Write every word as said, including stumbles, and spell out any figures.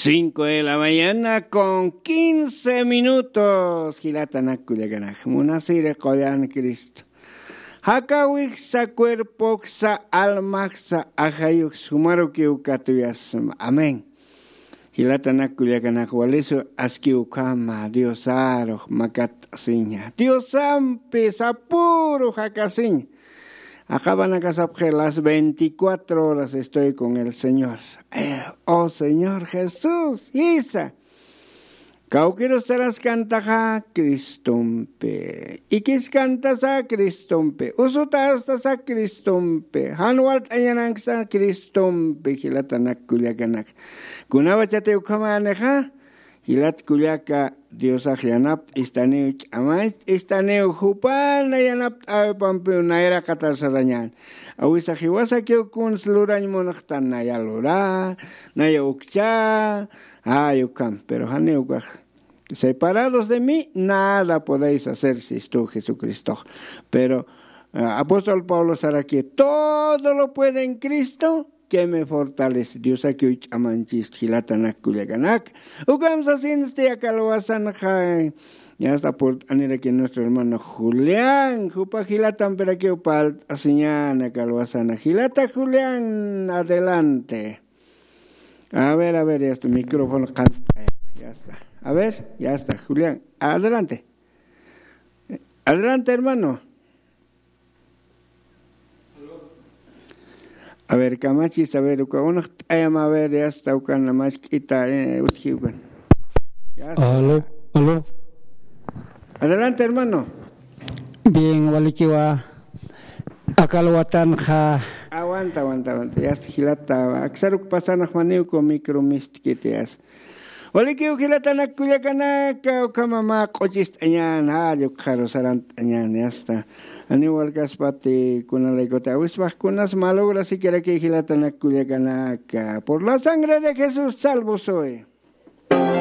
Cinco de la mañana con quince minutos. Jilatanak kullakanak, munasiri qullan Cristo. Jakawiksa, cuerpoksa, almaksa, ajayuksa, jumarukiw katuyasma. Amén. Jilatanak kullakanak, walisu askiw ukhama Diosarux makat'asiña. Diosampi sapüru jakasiña. Aqhapanakasapxi las veinticuatro horas estoy con el Señor. Eh, oh Señor Jesús, jisa. Kawkirus saraskantaxa Cristompi. Ikiskantasa Cristompi. Usutastasa Cristompi. Jan walt'añananksa Cristompi, jilatanak kullakanak. Kunawachati ukhamänixa, jilat kullaka, Diosax yanapt'istaniw, ch'amacht'istaniw, jupana yanapt'äwipampiw nayraqatar sarañän. Awisa jiwasakiw kuns lurañ munxtan, naya lurä, naya ukchä, ay ukham, pero janiw ukax. Separados de mí, nada podéis hacer, sistu Jesucristox. Pero, eh, apóstol Pablo saraki, todo lo puede en Cristo que me fortalece. Diosakiw ch'amanchist, jilatanak kullakanak. Ukham sasinsti aka alwasanxa, ya está, purt'aniraki nuestro hermano Julián, jupa jilatampirakiw parlt'asiñäni aka alwasana. Jilata Julián, adelante. A ver, a ver, ya está, micrófono qant'aya. Ya está. A ver, ya está, Julián, adelante. Adelante, hermano. A ver, kamachis, a ver, uka unax t'ayam, a ver, ya está, ukan mask'ita, eh, utji ukan. Ya está. Aló, aló. Adelante, hermano. Bien, walikiwa. Aka alwatanxa. Aguanta, aguanta, aguanta. Ya está, jilata. Aksaruk pasanax, janiw uka micro mistkiti, ya está. Walikiw jilatanak kullakanaka, ukhama mä q'uchist'añän, jall ukxaru sarant'añän, ya está. Janiw walkaspati kunalaykutï awispax, kunas mä lograsikirakï, jilatanak kullakanaka. Por la sangre de Jesús salvo soy.